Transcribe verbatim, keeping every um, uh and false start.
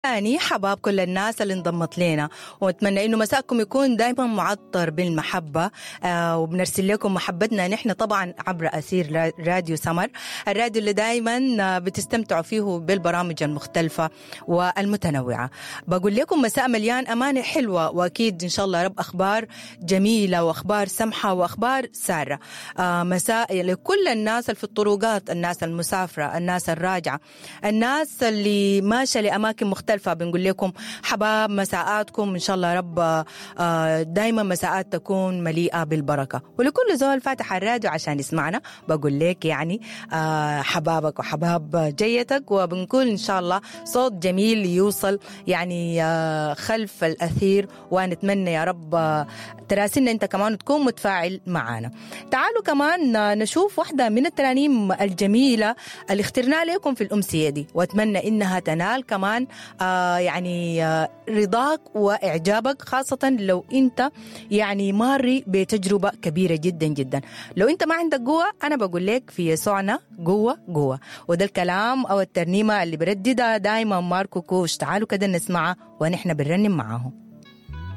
تاني حباب كل الناس اللي انضمت لنا، واتمنى انه مساءكم يكون دائما معطر بالمحبة. آه وبنرسل لكم محبتنا نحن طبعا عبر اثير راديو سمر، الراديو اللي دائما بتستمتعوا فيه بالبرامج المختلفة والمتنوعه. بقول لكم مساء مليان امانه حلوة، واكيد ان شاء الله رب اخبار جميلة واخبار سمحه واخبار ساره. آه مساء لكل الناس اللي في الطرقات، الناس المسافره، الناس الراجعة، الناس اللي ماشية لاماكن مختلفة. بنقول لكم حباب مساءاتكم ان شاء الله رب دايما مساءات تكون مليئة بالبركة. ولكل زول فاتح الراديو عشان يسمعنا بقول لك يعني حبابك وحباب جيتك، وبنقول ان شاء الله صوت جميل يوصل يعني خلف الاثير، ونتمنى يا رب تراسلنا انت كمان وتكون متفاعل معنا. تعالوا كمان نشوف واحدة من الترانيم الجميلة اللي اخترنا لكم في الامسيه دي، واتمنى انها تنال كمان آه يعني آه رضاك وإعجابك، خاصة لو أنت يعني ماري بتجربة كبيرة جدا جدا. لو أنت ما عندك قوة، أنا بقول لك في يسوعنا قوة قوة. وده الكلام أو الترنيمة اللي برددها دايما ماركو كوش. تعالوا كده نسمعها ونحن بنرنم معاهم.